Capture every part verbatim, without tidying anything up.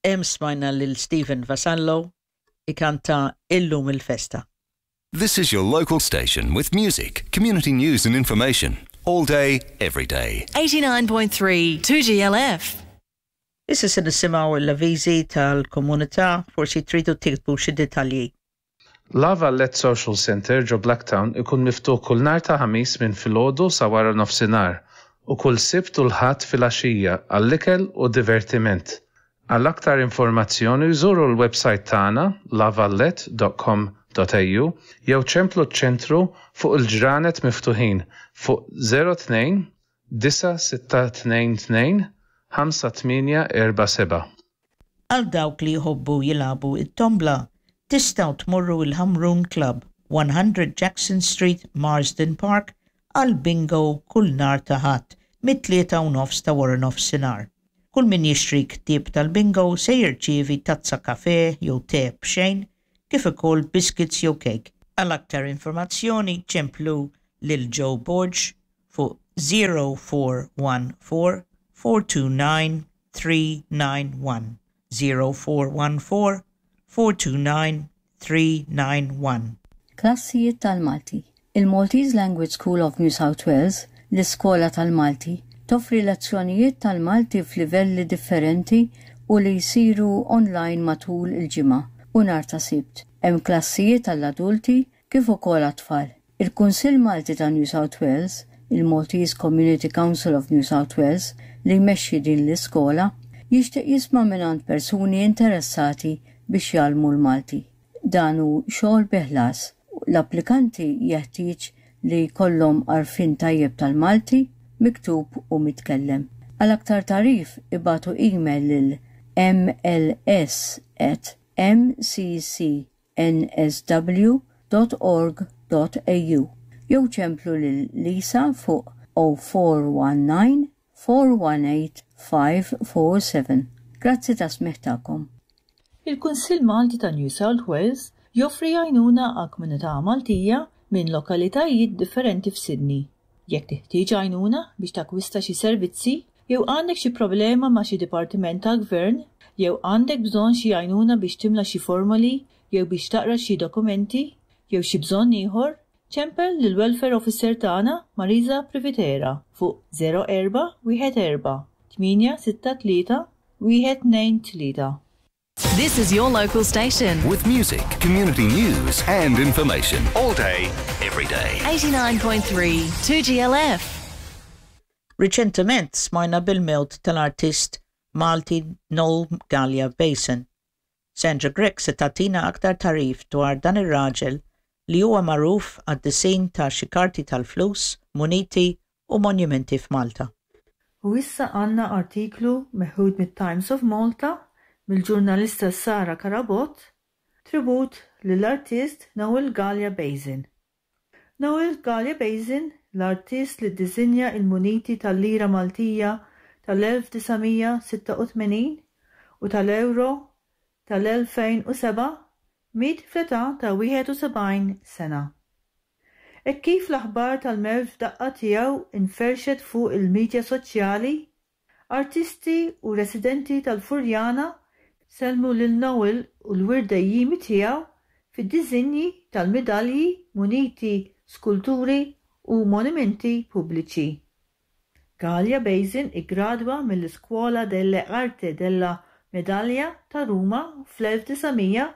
Hemm smajna lil Stephen Vassallo ikanta Illum il-Festa. This is your local station with music, community news and information. All day, every day. eighty-nine point three two G L F. Issa se nisimgħu l-avviżi tal-komunità, forsi tridu tiktbu xi dettalji. La Vallette Social Centre ġo Blacktown ikun miftuħ kull nhar ta' Ħamis minn filgħodu sa wara nofsinhar u kull Sibt u l-Ħadd filgħaxija għall-ikel u divertiment. Għal aktar informazzjoni żuru l-website tagħna lavallette dot com dot A U jew ċemplu ċ-ċentru fuq il-ġranet miftuħin fuq zero tnejn disa' sitta tnejn tnejn ħamsa tmienja erba' seba'. Għal dawk li jħobbu jilagħbu it-tombla, tistgħu tmorru il-Ħamrun Club, one hundred Jackson Street, Marsden Park, għal bingo kull nhar ta' Ħadd mit-tlieta u nofs ta' wara nofsinhar. Kull min jixtri ktieb tal-bingo se jirċievi tazza kafe jew te b'xejn, kif ukoll biscuits jew cake. Għal aktar informazzjoni ċemplu lil Joe Borg fuq zero four one four four two nine three nine one, zero four one four four two nine three nine one. Klassijiet tal-Malti. Il-Maltese Language School of New South Wales, l-Iskola tal-Malti, toffri lezzjonijiet tal-Malti f'livelli differenti u li jsiru online matul il-ġimgħa u nhar ta' Sibt. Hemm klassijiet għall-adulti kif ukoll għat-tfal. Il-Kunsill Malti ta' New South Wales, il-Maltese Community Council of New South Wales, li jmexxi din l-iskola, jixtieq jisma' mingħand persuni interessati biex jgħallmu l-Malti. Dan hu xogħol bi ħlas. L-applikanti jeħtieġ li jkollhom għarfien tajjeb tal-Malti, miktub u mitkellem. Għal aktar tagħrif ibagħtu email lil m l s at m c c n s w dot org dot a u jew ċemplu lil Lisa fuq zero four one nine four one eight five four seven. Grazzi tas-smigħ tagħkom. Il-Kunsill Malti ta' New South Wales joffri għajnuna għal komunità Maltija minn lokalitajiet differenti f'Sydney. Jekk teħtieġ għajnuna biex takwista xi servizzi, jew għandek xi problema ma' xi dipartiment tal-gvern, jew għandek bżonn xi għajnuna biex timla xi formoli, jew biex taqra xi dokumenti, jew xi bżonn ieħor, ċempel lil Welfare Officer tagħna Marisa Privitera fuq zero erba' wieħed erba' tmienja sitta tlieta wieħed tnejn tlieta. This is your local station. With music, community news and information. All day, every day. eighty-nine point three two G L F. Riċentement smajna bil-mewt tal-artist Malti Noel Galea Basin. Sandra Grech se tagħtina aktar tagħrif dwar dan ir-raġel li huwa magħruf għad-disin ta' xi karti tal-flus, muniti u monumenti f'Malta. U issa għandna artiklu meħud mit-Times of Malta mill-ġurnalista Sara Karabot, tribut lill-artist Noel Galea Basin. Noel Galea Basin, l-artist li ddisinja il-muniti tal-lira Maltija tal-elf disa' mija sitta u tmenin u tal-euro tal-elfejn u seba', miet fl-età ta' wieħed u sebgħin sena. Hekk kif l-aħbar tal-mewt f'daqqa tiegħu inferxet fuq il-midja soċjali, artisti u residenti tal-Furjana sellmu lil Noel u l-wirt dejjiemi tiegħu fid-disinji tal-midalji, muniti, skulturi u monumenti pubbliċi. Galea Basin iggradwa mill-Iscuola delle Arte della Medaglia ta' Ruma fl-elf disa' mija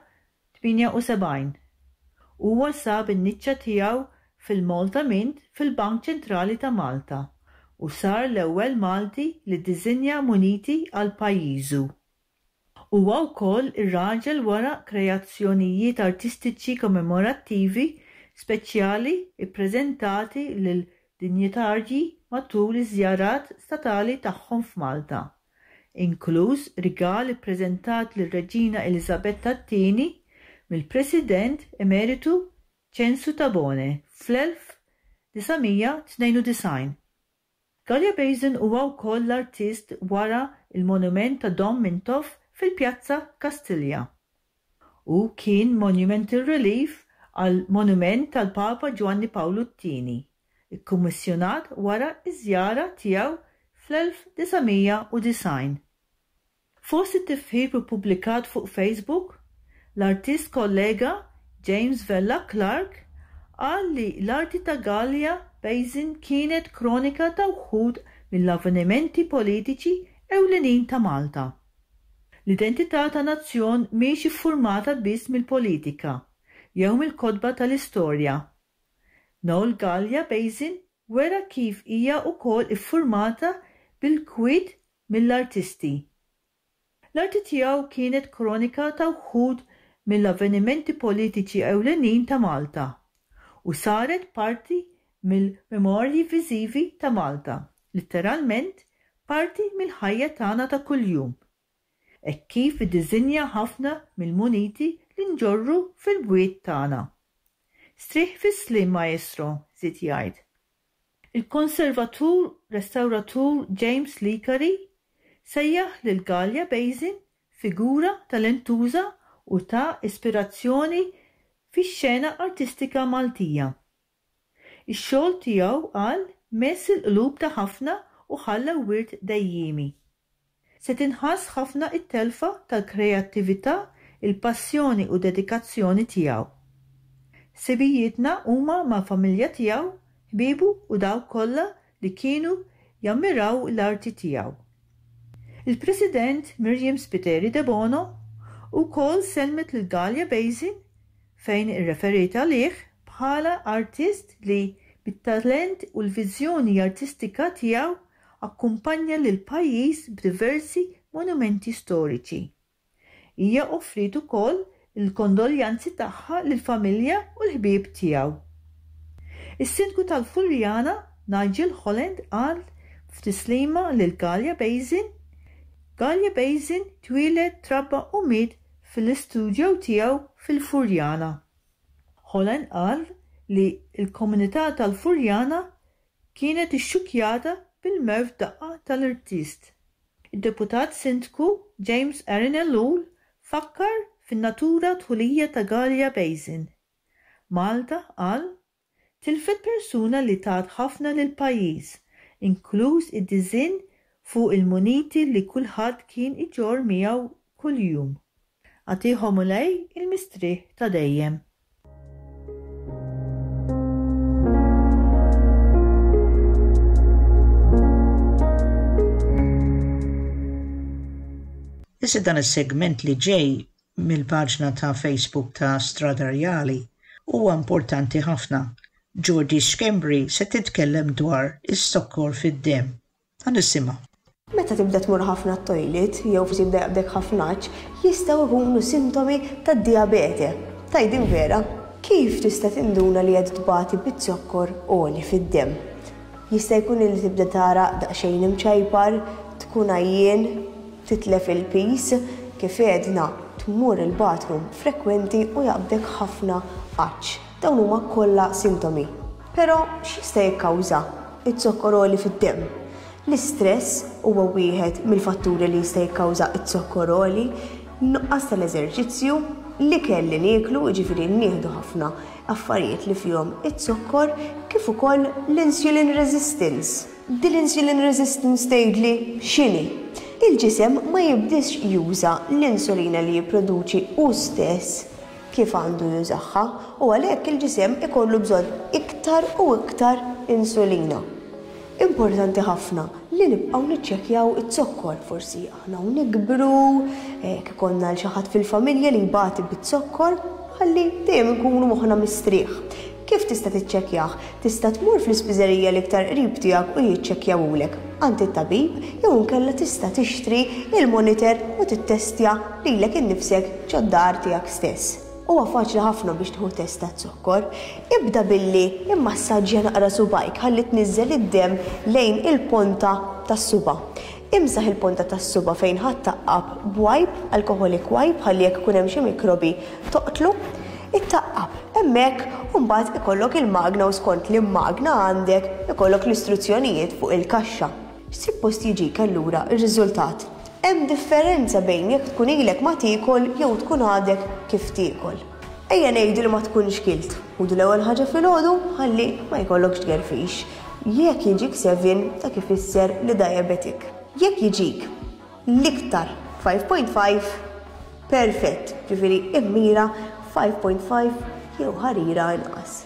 tmienja u sebgħin. Huwa sab in-niċċa tiegħu fil-Malta Mint fil-Bank Ċentrali ta' Malta u sar l-ewwel Malti li ddisinja muniti għal pajjiżu. Huwa wkoll ir-raġel wara kreazzjonijiet artistiċi kommemorattivi speċjali ppreżentati lil dinjitarji matul iż-żjarat statali tagħhom f'Malta, inkluż rigal ippreżentat lir-Reġina Eliżabetta t-Tieni mill-President Emeritu Ċensu Tabone fl-elf disa' mija tnejn u disgħin. Galea Basin huwa wkoll l-artist wara il-monument ta' Dom Mintoff fil-Pjazza Kastilja. U kien monumental relief għal monument tal-Papa Giovanni Paolo t-Tieni, ikkummissjonat wara iż-żjara tiegħu fl-elf disa' mija u disgħin. Fost it-tifħir ippubblikat fuq Facebook, l-artist kollega James Vella Clark qal li l-arti ta' Galea Basin kienet kronika ta' wħud mill-avvenimenti politiċi ewlenin ta' Malta. L-identità ta' nazzjon mhix iffurmata biss mill-politika jew mill-kotba tal-istorja. Noel Galea Basin wera kif hija wkoll iffurmata bil-kwiet mill-artisti. L-arti tiegħu kienet kronika ta' wħud mill-avvenimenti politiċi ewlenin ta' Malta u saret parti mill-memorji viżivi ta' Malta, letteralment parti mill-ħajja tagħna ta' kuljum. Hekk kif iddiżinja ħafna mill-muniti li nġorru fil-bwiet tagħna. Strieħ fis-sliem, maestro, żied jgħid. Il-konservatur restawratur James Licari sejjaħ lil Galea Basin figura talentuża u ta' ispirazzjoni fix-xena artistika Maltija. Ix-xogħol tiegħu qal mess il-qlub ta' ħafna u ħalla wirt dejjiemi. Se tinħass ħafna it-telfa tal-kreattività, il-passjoni u dedikazzjoni tiegħu. Ħsibijietna huma mal-familja tiegħu, ħbiebu u dawk kollha li kienu jammiraw l-arti tiegħu. Il-President Myriam Spiteri Debono wkoll sellmet lil Galea Basin fejn irreferiet għalih bħala artist li bit-talent u l-viżjoni artistika tiegħu akkumpanja lil pajjiż b'diversi monumenti storiċi. Hija offriet ukoll il-kondoljanzi tagħha lill-familja u l-ħbieb tiegħu. Is-Sindku tal-Furjana Nigel Holland qal f'tislima lil Galea Basin Galea Basin twieled trabba u miet fil-istudjo tiegħu fil-Furjana. Holland qal li l-komunità tal-Furjana kienet ixxukkjata bil-mewt daqqa tal-artist. Id-deputat Sindku James Aaron Ellul fakkar fin-natura dħulija ta' Galea Basin. Malta qal tilfet persuna li tat ħafna lil pajjiż, inkluż id-diżinn fuq il-muniti li kulħadd kien iġorr miegħu kuljum. Agħtih Mulej il-mistrieħ ta' dejjem. Issa dan is-segment li ġej mill-paġna ta' Facebook ta' Strada Rjali huwa importanti ħafna. Georgie Schembri se titkellem dwar is-sokkor fid-demm. Ħa nisimgħu. Meta tibda tmur ħafna t-toilet jew forsi jibda jaqbdek ħafna għatx, jistgħu jkunu sintomi tad-dijabete. Tgħid vera, kif tista' tinduna li qed tbati bit-zokkor għoli fid-demm? Jista' jkun li tibda tara daqsxejn imċajpar, tkun għajjien, titlef il-pis, kif għedna tmur il-bathroom frekwenti u jaqbdek ħafna għatx. Dawn huma kollha sintomi. Però x'jista' jikkawża iz-zokkor għoli fid-demm? L-istress huwa wieħed mill-fatturi li jista' jikkawża iz-zokkor għoli, nuqqas tal-eżerċizzju, l-ikel li nieklu, jiġifieri nieħdu ħafna affarijiet li fihom iz-zokkor, kif ukoll l-insulin resistance. Din l-insulin resistance tgħidli x'inhi? Il-ġisem ma jibdix juża l-insulina li jipproduċi hu stess kif għandu jużaha u għalhekk il-ġisem ikollu bżonn iktar u iktar insulina. Importanti ħafna li nibqgħu niċċekkjaw iz-zokkor, forsi aħna u nikbru, jekk ikollna l xi ħadd fil-familja li jbati biz-zokkor, ħalli dejjem inkunu moħħna mistrieħ. Kif tista' tiċċekkjah? Tista' tmur fl-ispiżerija l-iktar qrib tiegħek u jiċċekkjawulek għand it-tabib jew inkella tista' tixtri il-monitor u tittestja lilek innifsek ġod-dar tiegħek stess. Huwa faċli ħafna biex tieħu test taz-zokkor. Ibda billi immassaġġja naqra subajk ħalli tniżżel id-demm lejn il-ponta tas-suba. Imsaħ il-ponta tas-suba fejn ħadd taqqab b'wipe, alcoholic wipe, ħalli jekk ikun hemm xi mikrobi toqtlu. Ittaqqab hemmhekk u mbagħad ikollok il-magna u skont li magna għandek ikollok l-istruzzjonijiet fuq il-kaxxa. Suppost jiġik allura r-riżultat. Hemm differenza bejn jekk tkun ilek ma tiekol jew tkun għadek kif tiekol. Ejja ngħidu li ma tkunx kilt. Ħudu l-ewwel ħaġa filgħodu ħalli ma jkollokx tgerfix. Jekk jiġik seven dak ifisser li diabetic. Jekk jiġik l-iktar five point five, perfett, ġifieri immira five point five jew ħarira inqas.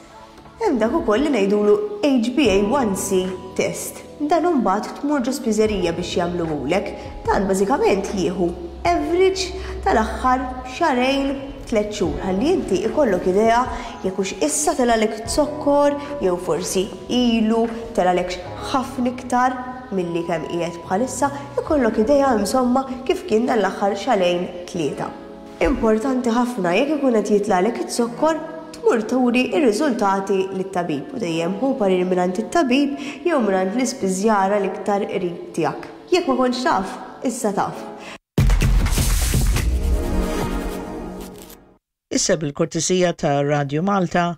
Hemm dak ukoll li ngħidulu H B A one C test. Dan imbagħad tmur ġo spiżerija biex jagħmluhulek. Dan bażikament jieħu average tal-aħħar xahrejn tliet xhur ħalli inti ikollok idea jekk hux issa telgħalek zokkor jew forsi ilu telgħalek ħafna iktar milli kemm qiegħed bħalissa, ikollok idea insomma kif kien dan l-aħħar xahrejn tlieta. Importanti ħafna jekk ikun qed jitlagħlek iz-zokkor tmur turi r-riżultati lit-tabib u dejjem hu parir mingħand it-tabib jew mingħand l-ispiżjara l-iktar qrib tiegħek. Jekk ma kontx taf, issa taf. Issa bil-kortesija ta' Radio Malta,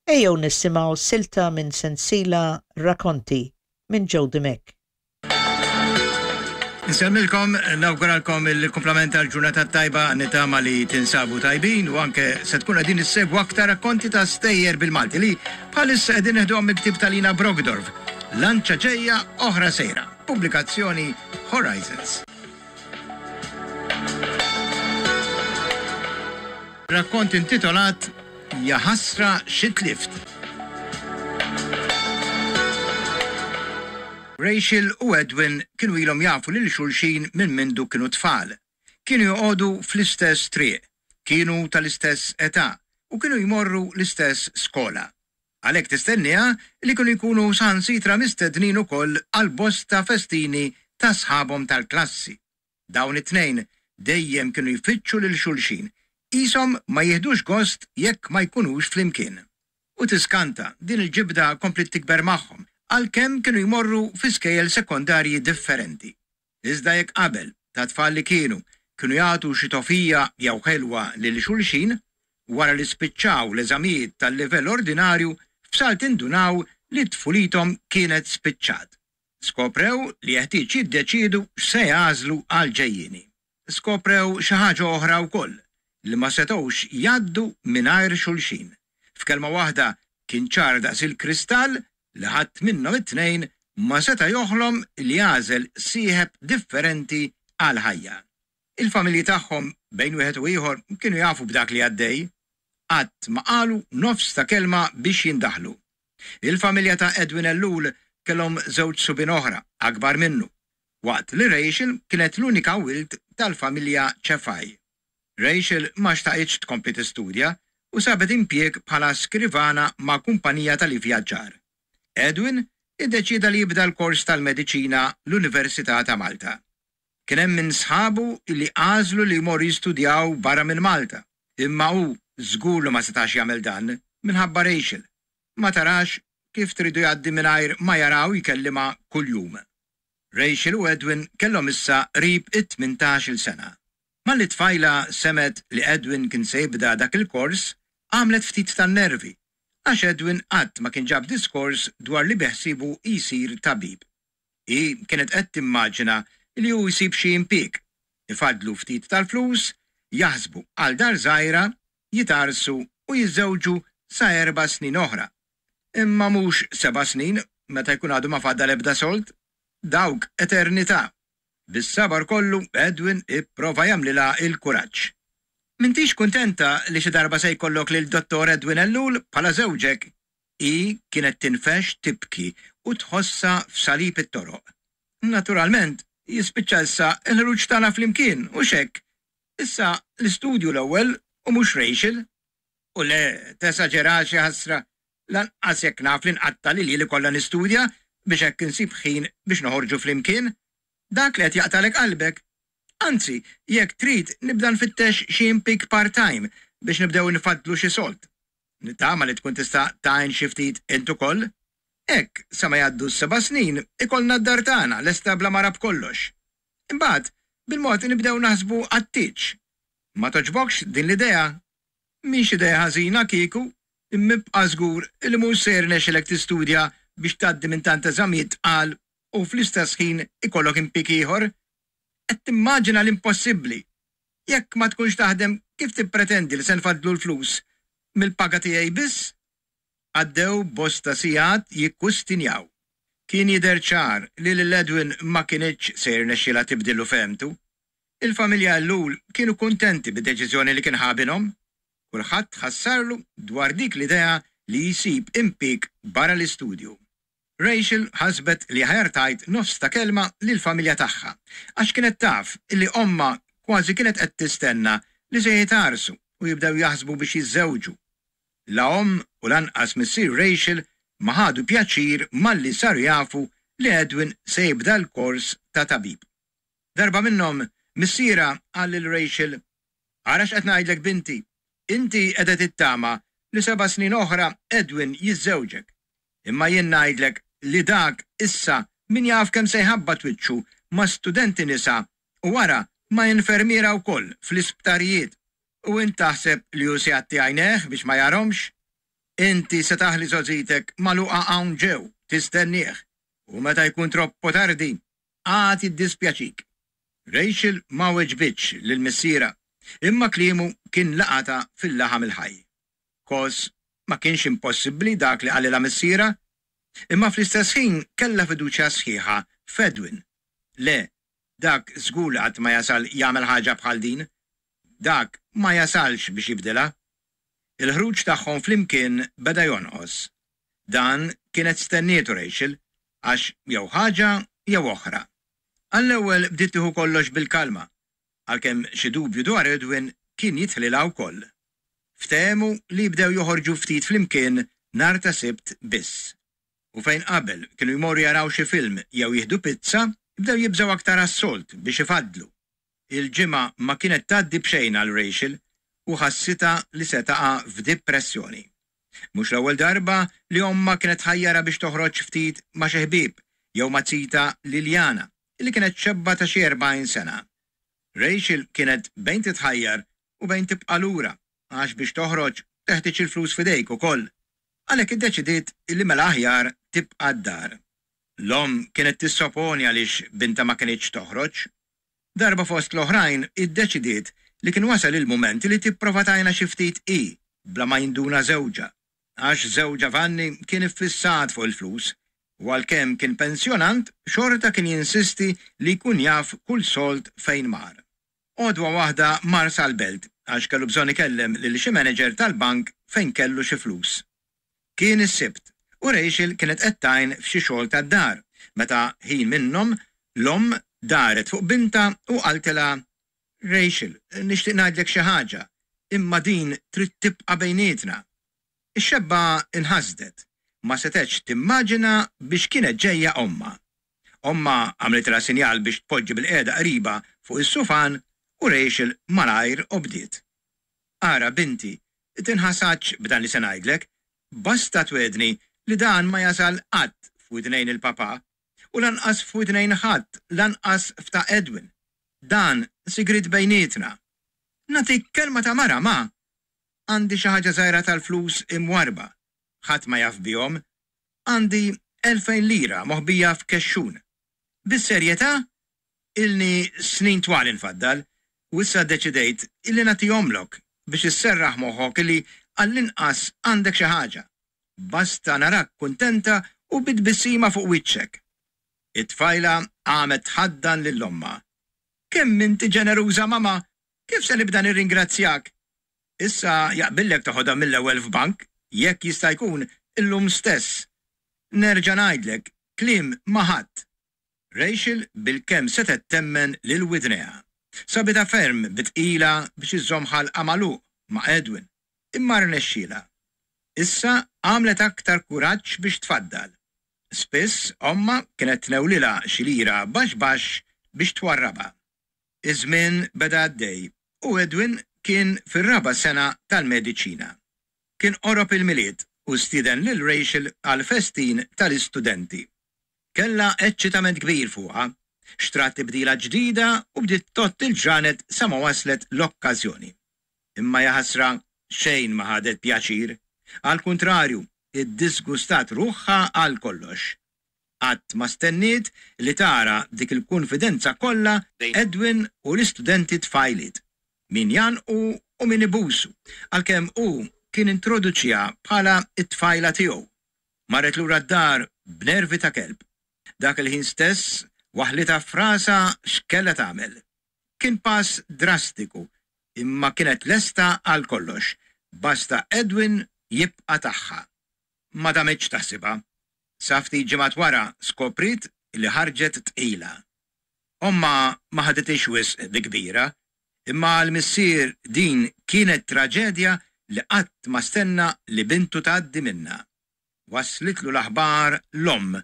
ejjew nisimgħu silta minn sensila Racconti minn Joe Dimech. Nsemmilkom, nawguralkom il-kumplament tal-ġurnata tajba, nitama li tinsabu tajbin u anke se tkun qegħdin issegwu aktar rakkonti ta' stejjer bil-Malti li bħalissa qegħdin neħduhom mill-ktieb ta' Lina Brockdorff, Lanċa ġejja oħra sejra, pubblikazzjoni Horizons. Rakkont intitolat Ja ħasra xi tlift. Rachel u Edwin kienu ilhom jafu lil xulxin minn mindu kienu tfal. Kienu joqogħdu fl-istess triq, kienu tal-istess età u kienu jmorru l-istess skola. Għalhekk tistenniha li kienu jkunu saħansitra mistednin ukoll għal bosta festini ta' sħabhom tal-klassi. Dawn it-tnejn dejjem kienu jfittxu lil xulxin, qishom ma jieħdux gost jekk ma jkunux flimkien. U tiskanta din il-ġibda komplet tikber magħhom għalkemm kienu jmorru fi skejjel sekondarji differenti. Iżda jekk qabel ta' tfal li kienu kienu jagħtu xi tofija jew ħelwa lil xulxin, wara li spiċċaw l-eżamijiet tal-livell ordinarju f'salt indunaw li tfulithom kienet spiċċat. Skoprew li jeħtieġ jiddeċiedu x'se jagħżlu għal ġejjieni. Skoprew xi ħaġa oħra wkoll li ma setgħux jgħaddu mingħajr xulxin. F'kelma waħda kien ċar daqs il-kristall li ħadd minnhom it-tnejn ma seta' joħlom li jagħżel sieħeb differenti għal ħajja. Il-familji tagħhom bejn wieħed u ieħor kienu jafu b'dak li għaddej, qatt ma qalu nofs ta' kelma biex jindaħlu. Il-familja ta' Edwin Ellul kellhom żewġ subien oħra akbar minnu, waqt li Rachel kienet l-unika wild tal-familja Cefai. Rachel ma xtaqitx tkompli tistudja u sabet impjieg bħala skrivana ma' kumpanija tal-ivvjaġġar. Edwin iddeċieda li jibda l-kors tal-mediċina l-Università ta' Malta. Kien hemm minn sħabu li għażlu li jmorru jistudjaw barra minn Malta, imma hu żgur li ma setax jagħmel dan minħabba Rachel. Ma tarax kif tridu jgħaddi mingħajr ma jaraw jkellimha kuljum. Rachel u Edwin kellhom issa qrib it-tmintax-il sena. Malli tfajla semet li Edwin kien se jibda dak il-kors, għamlet ftit tan-nervi, għax Edwin qatt ma kien ġab diskors dwar li beħsibu jsir tabib. Hi kienet qed timmaġina li hu jsib xi impjieg, ifadlu ftit tal-flus, jaħsbu għal dar żgħira, jitarsu u jiżżewġu sa erba' snin oħra. Imma mhux seba' snin meta jkun għadu ma fadal ebda sold, dawk eternità. Bis-sabar kollu Edwin ipprova jagħmlilha il-kuraġġ. M'intix kuntenta li xi darba se jkollok lil Dottor Edwin Ellul bħala żewġek? Hi kienet tinfex tibki u tħossha f'salib it-toroq. Naturalment, jispiċċa issa l-ħruġ tagħna flimkien u x'hekk. Issa l-istudju l-ewwel u mhux Rachel. U le, tesaġerax ħasra, lanqas jekk naf li nqatta' li lili kollha nistudja biex hekk insib ħin biex noħorġu flimkien. Dak li qed jaqtalek qalbek. Anzi, jekk trid nibda nfittex xi impjieg part-time biex nibdew nfaddlu xi sold. Nittama li tkun tista' tgħin xi ftit int ukoll. Hekk, sa ma jgħaddu s-seba' snin, ikollna d-dar tagħna lesta bla mara b'kollox. Imbagħad, bil-mod nibdew naħsbu għat-tieġ. Ma toġbokx din l-idea? Mhix idea ħażina kieku, imma ibqa' żgur li mhux se jirnexxilek tistudja biex tgħaddi minn tant eżamijiet tqal u fl-istess ħin ikollok impjieg ieħor. Qed timmaġina l-impossibbli. Jekk ma tkunx taħdem, kif tippretendi li se nfaddlu l-flus? Mill-paga tiegħi biss? Għaddew bosta sigħat jikkustinjaw. Kien jidher ċar li lil Edwin ma kinitx se jirnexxilha tibdillu fehmtu. Il-familja Ellul kienu kuntenti bid-deċiżjoni li kien ħa binhom. Kulħadd ħassarlu dwar dik l-idea li jsib impjieg barra l-istudju. Rachel ħasbet li aħjar tgħid nofs ta' kelma lill-familja tagħha, għax kienet taf illi ommha kważi kienet qed tistenna li se jitgħarrsu u jibdew jaħsbu biex jiżżewġu. La omm u lanqas missier Rachel ma ħadu pjaċir malli saru jafu li Edwin se jibda l-kors ta' tabib. Darba minnhom missierha qal lil Rachel, "Ara x'qed ngħidlek binti, inti qiegħda tittama li seba' snin oħra Edwin jiżżewġek. Imma jien ngħidlek li dak issa min jaf kemm se jħabbat wiċċu ma' studenti nisa u wara ma' infermiera wkoll fl-isptarijiet. U int taħseb li hu se jgħatti għajnejh biex ma jarahomx? Inti se taħli żgħożitek magħluqa hawn ġew tistennieh u meta jkun troppo tardi għad jiddispjaċik." Rachel ma weġbitx lil missierha, imma kliemu kien laqatha fil-laħam il-ħaj. Kos ma kienx impossibbli dak li qalilha missierha, imma fl-istess ħin kellha fiduċja sħiħa f'Edwin. Le, dak żgur li qatt ma jasal jagħmel ħaġa bħal din. Dak ma jasalx biex jibdilha. Il-ħruġ tagħhom flimkien beda jonqos. Dan kienet stennietu Rachel, għax jew ħaġa jew oħra. Għall-ewwel bdiet tieħu kollox bil-kalma, għalkemm xi dubju dwar Edwin kien jidħlilha wkoll. Ftehmu li jibdew joħorġu ftit flimkien nhar ta' Sibt biss. U fejn qabel kienu jmorru jaraw xi film jew jieħdu pizza, bdew jibżgħu aktar għas-sold biex ifaddlu. Il-ġimgħa ma kienet tgħaddi b'xejn għal Rachel u ħassitha li se taqa' f'dipressjoni. Mhux l-ewwel darba li ommha kienet tħajjarha biex toħroġ ftit ma' xi ħbieb jew ma' zitha Liliana, li kienet xebba ta' xi erbgħin sena. Rachel kienet bejn titħajjar u bejn tibqa' lura, għax biex toħroġ teħtieġ il-flus f'idejk ukoll. Għalhekk iddeċidiet li mela aħjar tibqa' d-dar. L-omm kienet tissoponi għaliex bintha ma kinitx toħroġ. Darba fost l-oħrajn iddeċidiet li kien wasal il-mument li tipprova tgħinha xi ftit hi bla ma jinduna żewġha, għax żewġha Vanni kien iffissat fuq il-flus u għalkemm kien pensjonant xorta kien jinsisti li jkun jaf kull sold fejn mar. Għodwa waħda mar sal-belt għax kellu bżonn ikellem lil xi manager tal-bank fejn kellu xi flus. Kien is-Sibt u Rachel kienet qed tgħin f'xi xogħol tad-dar meta ħin minnhom l-omm daret fuq bintha u qaltilha, "Rachel, nixtieq ngħidlek xi ħaġa, imma din trid tibqa' bejnietna." Ix-xebba inħasdet, ma setgħetx timmaġina biex kienet ġejja ommha. Ommha għamlitilha sinjal biex tpoġġi bilqiegħda qribha fuq is-sufan u Rachel malajr obdiet. "Ara binti, tinħasadx b'dan li se ngħidlek, basta twegħedni li dan ma jasal qatt f'widnejn il-papà u lanqas f'widnejn ħadd, lanqas f'ta' Edwin. Dan sigriet bejnietna. Nagħtik kelma ta' mara, ma. Għandi xi ħaġa żgħira tal-flus imwarrba, ħadd ma jaf bihom. Għandi elfejn lira moħbija f'kexxun. Bis-serjetà, ilni snin twal infaddal u issa ddeċidejt illi nagħtihomlok biex isserraħ moħħok illi għall-inqas għandek xi ħaġa. Basta narak kuntenta u bi tbissima fuq wiċċek." It-tfajla qamet tħaddan lil ommha. "Kemm inti ġeneruża, mama! Kif se nibda nirringrazzjak? Issa jaqbillek toħodha mill-ewwel f'bank, jekk jista' jkun illum stess. Nerġa' ngħidlek, kliem ma' ħadd." Rachel bilkemm setgħet temmen lil widnejha. Sabitha ferm bi tqila biex iżżomm ħalqha magħluq ma' Edwin, imma rnexxielha. Issa għamlet aktar kuraġġ biex tfaddal. Spiss ommha kienet tnewlilha xi lira baxx baxx biex twarrabha. Iż-żmien beda għaddej u Edwin kien fir-raba' sena tal-mediċina. Kien qorob il-Milied u stieden lil Rachel għall-festin tal-istudenti. Kellha eċċitament kbir fuqha, xtrat tibdila ġdida u bdiet tgħodd il-ġranet sa ma waslet l-okkażjoni. Imma jaħasra xejn ma ħadet pjaċir. Għall-kuntrarju, iddisgustat ruħha għal kollox. Qatt ma stenniet li tara dik il-kunfidenza kollha bejn Edwin u l-istudenti tfajliet, min jgħannqu u min ibusu, għalkemm hu kien introduċieha bħala t-tfajla tiegħu. Marret lura d-dar b'nervi ta' kelb. Dak il-ħin stess waħlitha f'rasha x'kellha tagħmel. Kien pass drastiku, imma kienet lesta għal kollox, basta Edwin jibqa' tagħha. Ma damitx taħsibha. Sa ftit ġimgħat wara skopriet li ħarġet tqila. Ommha ma ħadithiex wisq bi kbira, imma għall-missier din kienet traġedja li qatt ma stenna li bintu tgħaddi minnha. Waslitlu l-aħbar l-omm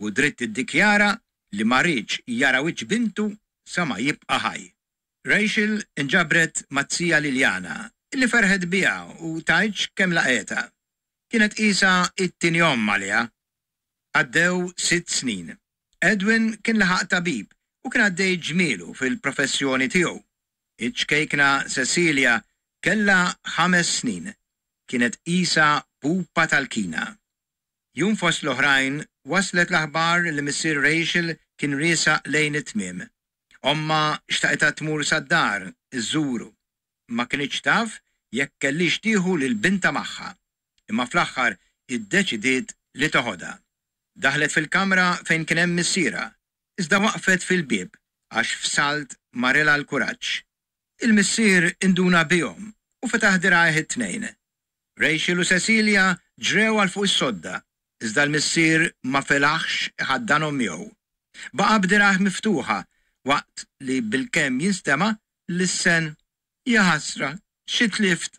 u dritt iddikjara li ma riedx jara wiċċ bintu sa ma jibqa' ħaj. Rachel inġabret maz-zija Liliana, li ferħet biha u tgħidx kemm laqgħetha. Kienet qisha t-tieni omm għaliha. Għaddew sitt snin. Edwin kien laħaq tabib u kien għaddej ġmielu fil-professjoni tiegħu. Iċ-ċkejkna Cecilia kellha ħames snin. Kienet qisha pupa tal-kina. Jum fost l-oħrajn waslet l-aħbar li missier Rachel kien riesaq lejn it-tmiem. Ommha xtaqitha tmur sad-dar iżżuru. Ma kinitx taf jekk kellhiex tieħu lil bintha magħha, imma fl-aħħar iddeċidiet li toħodha. Daħlet fil-kamra fejn kien hemm missierha, iżda waqfet fil-bieb għax f'salt marilha l-kuraġġ. Il-missier induna bihom u fetaħ dirgħajh it-tnejn. Rachel u Cecilia ġrew għal fuq is-sodda, iżda l-missier ma felaħx iħaddanhom miegħu. Baqa' b'dirgħajh miftuħa waqt li bilkemm jinstema' lissen, Jaħasra, xi tlift!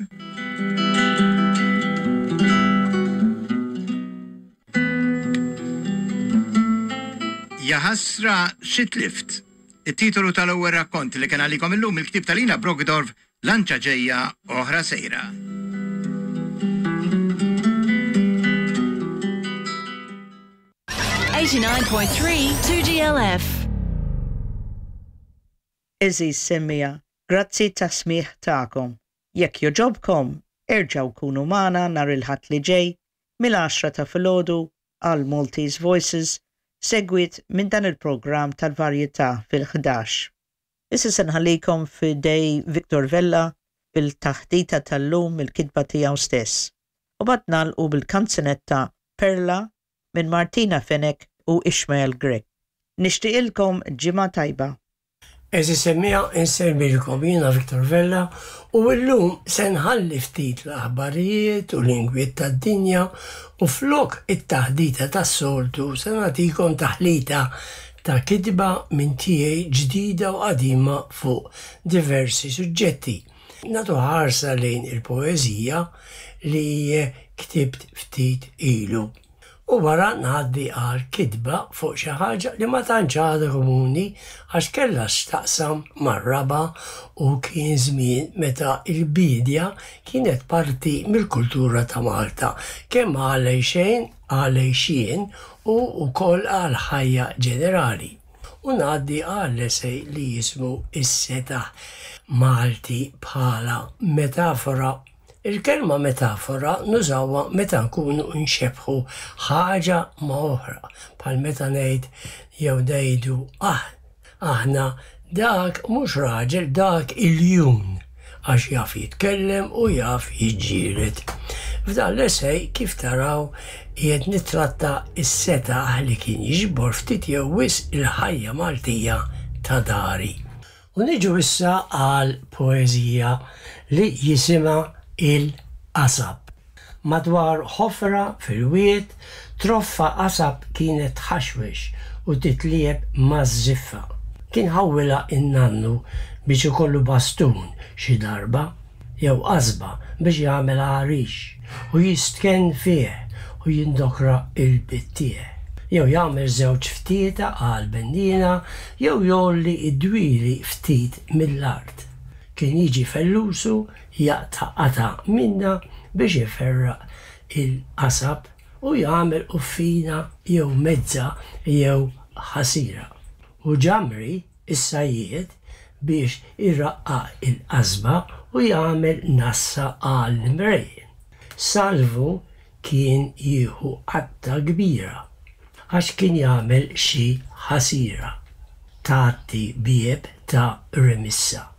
Jaħasra, xi tlift! It-titolu tal-ewwel rakkont li kien għalikom illum mill-ktieb ta' Lina Brockdorff, Lanċa ġejja, oħra sejra. Eighty-nine point three, two G L F. Għeżież semmiegħa, grazzi tas-smigħ tagħkom. Jekk joġobkom, erġgħu kunu magħna nhar il-Ħadd li ġej mill-għaxra ta' filgħodu għal Maltese Voices, segwit minn dan il-programm tal-varjetà fil-ħdax. Issa se nħallikom f'idej Victor Vella bil-taħdita tal-lum mill-kitba tiegħu stess. U bad nagħlqu bil-kanzunetta Perla minn Martina Fenech u Ishmael Grech. Nixtieqilkom ġimgħa tajba. Għeżież semmiegħa, insellmilkom jiena Victor Vella u llum se nħalli ftit l-aħbarijiet u l-ingwiet tad-dinja u flok it-taħdita tas-soltu se nagħtikom taħlita ta' kitba minn tiegħi ġdida u qadima fuq diversi suġġetti. Nagħtu ħarsa lejn il-poeżija li ktibt ftit ilu. U wara ngħaddi għal kitba fuq xi ħaġa li ma tantx għadha komuni għax kellha x'taqsam mar-raba' u kien żmien meta l-bidja kienet parti mill-kultura ta' Malta, kemm għal għejxejn, għal għejxien u wkoll għal ħajja ġenerali. U ngħaddi għal esej li jismu Is-setaħ Malti bħala metafora. Il-kelma metafora nużawha meta nkunu nxebħu ħaġa ma' oħra, bħal meta ngħid jew ngħidu ah, aħna dak mhux raġel, dak iljun, għax jaf jitkellem u jaf jiġġieled. F'dan l-esej kif taraw qiegħed nittratta s-setaħ li kien jiġbor ftit jew wisq il-ħajja Maltija ta' dari. U niġu issa għal poeżija li jisimha Il-qasab. Madwar ħofra fil-wied, troffa qasab kienet tħaxwex u titlieb maż-żiffa. Kien ħawwilha in-nannu biex ikollu bastun xi darba jew qasba biex jagħmel għarix u jistkenn fih u jindokra il-bittieħ. Jew jagħmel żewġ ftieta għal benniena jew jgħolli id-dwieli ftit mill-art. Kien jiġi fellusu jaqta' qata' minna biex iferraq il-qasab u jagħmel quffina jew mezza jew ħasira. U ġamri is-sajjied biex iraqqaq il-qasba u jagħmel nassa għall-imrejjen. Salvu kien jieħu qatta kbira għax kien jagħmel xi ħasira tgħatti bieb ta' remissa.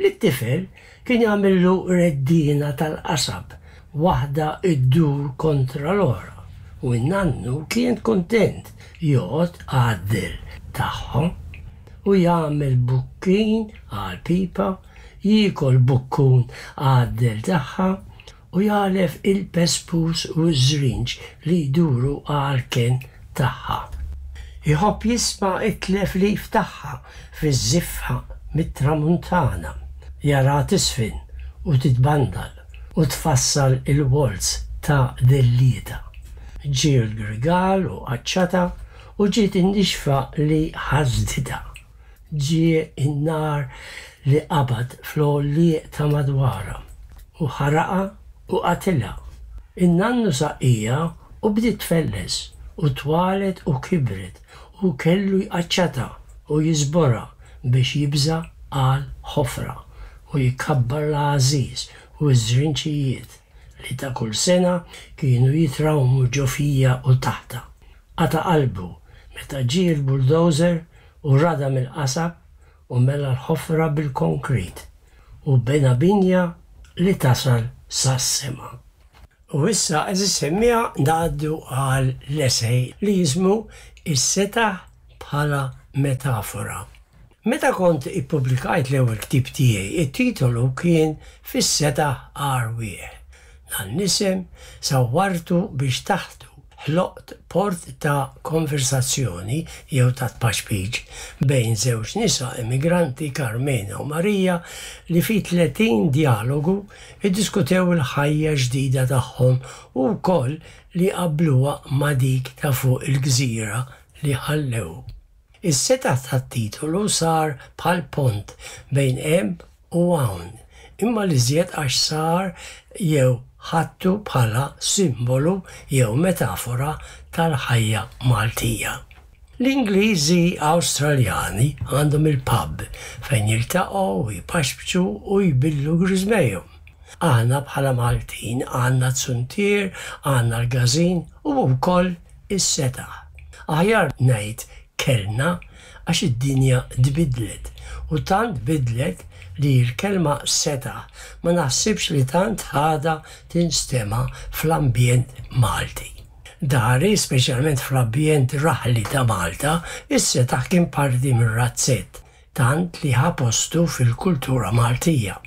Lit-tifel kien jagħmillu reddina tal-qasab waħda iddur kontra l-oħra u n-nannu kien kuntent joqgħod għaddel tagħhom. u jagħmel bukkin għal pipa, jiekol bukkun għad-dell tagħha u jagħlef il-pespus u ż-żrinġ li jduru għall-kenn tagħha. Iħobb jisma' t-tleflif tagħha fiż-żiffa mit-tramuntana, jaraha tiżfen u titbandal u tfassal il-waltz ta' dellietha. Ġie l-grigal u qaċċatha u ġiet in-nixfa li ħasditha. Ġie n-nar li qabad fl-għollieq ta' madwarha u ħaraqha u qatilha. In-nannu saqqieha u bdiet tfelles u twalet u kibret u kellu jqaċċatha u jiżborha biex jibża' għal ħofra u jkabbar l-għażiż u ż-żrinċijiet li ta' kull sena kienu jitrawmu ġo fija u taħtha. Qata' qalbu meta ġie l-bulldozer u radam il-qasab u mela l-ħofra bil-konkrit u bena binja li tasal sas-sema. U issa, għeżież semmiegħa, ngħaddu għal l-esej li jismu Is-Setaħ bħala Metafora. Meta kont ippubblikajt l-ewwel ktieb tiegħi, it-titolu kien Fis-Setaħ Arwieħ. Dan l-isem sawwartu biex taħtu ħloqt port ta' konversazzjoni jew ta' tpaċpiċ bejn żewġ nisa immigranti, Carmena u Maria, li fi tletin djalogu iddiskutew il-ħajja ġdida tagħhom u wkoll li qabbluha ma' dik ta' fuq il-gżira li ħallew. Is-setaħ tat-titolu sar bħal pont bejn hemm u hawn, imma l-iżjed għax sar jew ħadtu bħala simbolu jew metafora tal-ħajja Maltija. L-Ingliżi Awstraljani għandhom il-pub fejn jiltaqgħu u jpaxpxu u jbillu griżmejhom. Aħna bħala Maltin għandna z-zuntier, għandna l-każin u wkoll is-setaħ. Aħjar ngħid kellna għax id-dinja tbiddlet u tant tbiddlet li l-kelma setaħ ma naħsibx li tant għadha tinstema' fl-ambjent Malti. Dari, speċjalment fl-ambjent raħli ta' Malta, is-setaħ kien parti mir-razzett, tant li ħa postu fil-kultura Maltija.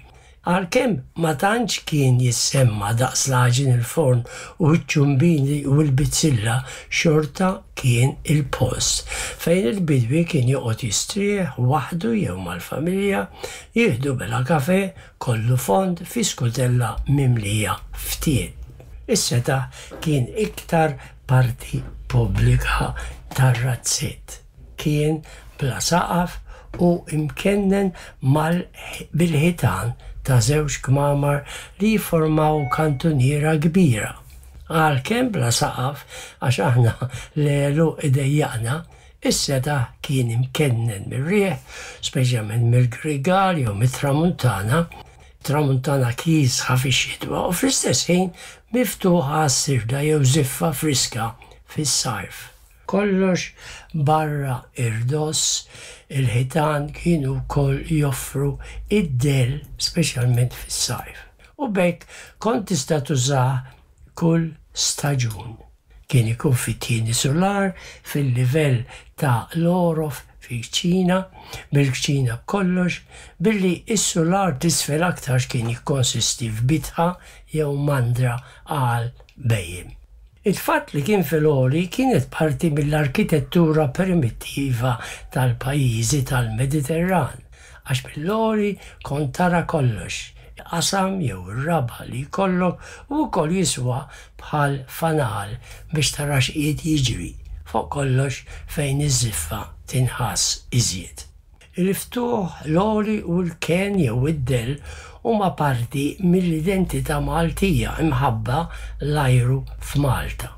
Għalkemm ma tantx kien jissemma daqs l-għaġin il-forn u ċ-ċumbini u l-bizzilla xorta kien il-post fejn il-bidwi kien joqgħod jistrieħ waħdu jew mal-familja, jieħdu bela kafè kollu fond fi skutella mimlija ftiet. Is-setaħ kien iktar parti pubblika tar-razzett. Kien bla saqaf u imkennen mal bil-ħitan ta' żewġ kmamar li jifformaw kantuniera kbira. Għalkemm bla saqaf, għax aħna l-għeluq idejjaqna, is-setaħ kien imkennen mir-riħ, speċjalment mill-Grigal jew mit-Tramuntana, tramuntana kiesħa fix-xitwa u fl-istess ħin miftuħ għas-sirda jew żiffa friska fis-sajf. Kollox barra irdoss, il-ħitan kienu wkoll joffru id-dell speċjalment fis-sajf. U b'hekk kont tista' tużah kull staġun. Kien ikun fit-tieni sular, fil-livell ta' l-għorof fil-kċina, bil-kċina b'kollox, billi s-sular t'isfel aktarx kien jikkonsisti f'bitħa jew mandra għal bhejjem. Il-fatt li kien fil-għoli kienet parti mill-arkitettura primittiva tal-pajjiżi tal-Mediterran, għax mill-għoli kont tara kollox, il-qasam jew ir-raba' li jkollok u wkoll jiswa bħal fanal biex tara x'qiegħed jiġri, fuq kollox fejn iż-żiffa tinħass iżjed. Il-ftuħ, l-għoli u l-kenn jew id-dell huma parti mill-identità Maltija imħabba l-ajru f'Malta.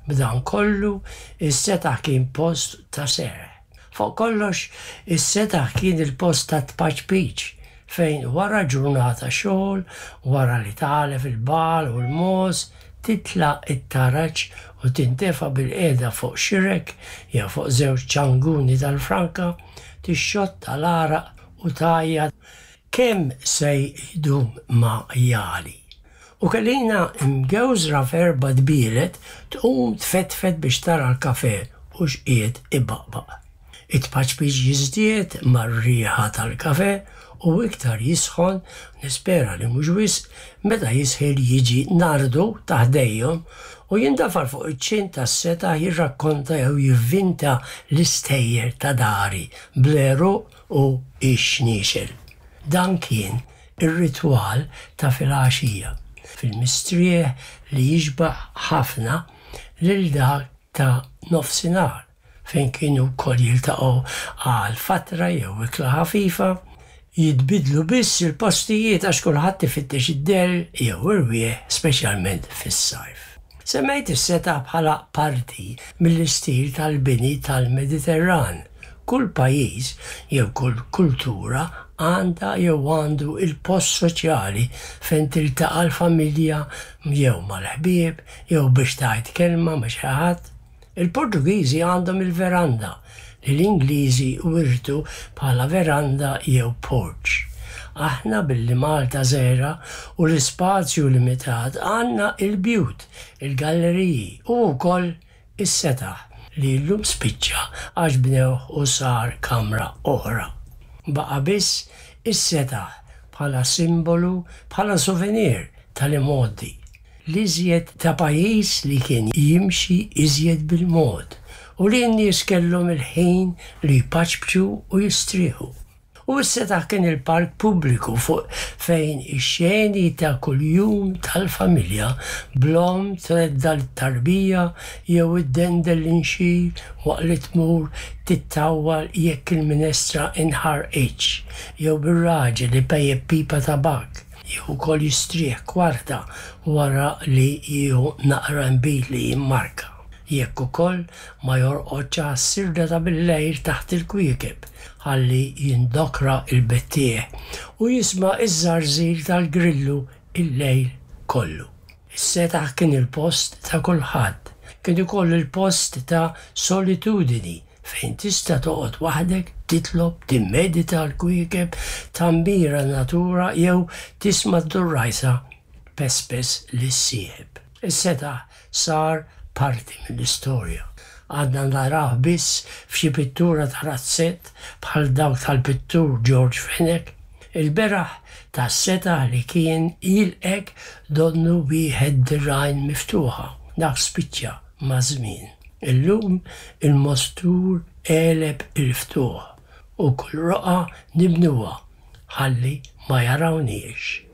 B'dan kollu, is-setaħ kien post ta' serħ. Fuq kollox, is-setaħ kien il-post tat-tpaċpiċ fejn wara ġurnata xogħol, wara li tagħlef il-bagħal u l-mogħoż, titla' t-taraġ u tintefa' bilqiegħda fuq xirek jew fuq żewġ ċanguni tal-franka, tixxotta l-għaraq u tgħajjat kemm se jdum ma jagħli. U Kelina mgewżra f'erba' dbielet tqum tfetfet biex tara l-kafè u x'qiegħed ibaqbaq. It-tpaċpiċ jiżdied mar-riħa tal-kafè u iktar jisħon, nispera li mhux wisq, meta jisħil jiġi Nardu ta' ħdejhom u jindafar fuq iċ-ċint tas-setaħ jirrakkonta jew jivvinta l-istejjer ta' dari bl-għeruq u x-xniexel. Dan kien ir-ritwal ta' filgħaxija, fil-mistrieħ li jixbah ħafna lil dak ta' nofsinhar, fejn kienu wkoll jiltaqgħu għal fatra jew ikla ħafifa, jitbiddlu biss il-postijiet għax kulħadd ifittex id-dell jew irwieħ speċjalment fis-sajf. Semmejt is-setaħ bħala parti mill-istil tal-bini tal-Mediterran. Kull pajjiż jew kull kultura għandha jew għandu il-post soċjali fejn tiltaqa' l-familja jew mal-ħbieb jew biex tgħid kelma ma' xi ħadd. Il-Portugiżi għandhom il-veranda li l-Ingliżi wirtu bħala veranda jew porch. Aħna billi Malta żgħira u l-ispazju limitat għandna il-bjut, il-galleriji u wkoll is-setaħ li llum spiċċa għax bnewh u sar kamra oħra. Baqa' biss is-setaħ bħala simbolu, bħala souvenir tal-imgħoddi. L-iżjed ta' pajjiż li kien jimxi iżjed bil-mod u li n-nies kellhom il-ħin li jpaċpċu u jistrieħu. U s-setaħ kien il-park pubbliku fuq fejn ix-xeni ta' kuljum tal-familja bl-omm tredda l-tarbija jew iddendel l-inxir waqt li tmur tittawwal jekk il-minestra inħarqitx jew bir-raġel ipejjep pipa tabakk jew ukoll jistrieħ kwarta wara li jieħu naqra nbid li jimmarka. Jekk ukoll ma jorqodx għas-sirda ta' bil-lejl taħt il-kwiekeb ħalli jindokra il-bettieħ u jisma' iż-żarżir tal-grillu il-lejl kollu. Is-setaħ kien il-post ta' kulħadd, kien ukoll il-post ta' solitudini fejn tista' toqgħod waħdek, titlob, timmedita l-kwiekeb, tammira n-natura jew tisma' d-durrajsa tpespes lis-sieħeb. Is-setaħ sar parti mill-istorja. Għadna narawh biss f'xi pittura ta' razzett bħal dawk tal-pittur George Fenech. Il-beraħ tas-setaħ li kien jilqek donnu wieħed dirgħajn miftuħa. Dak spiċċa maż-żmien. Illum il-mostur għeleb il-ftuħ u kull roqgħa nibnuha ħalli ma jarawniex.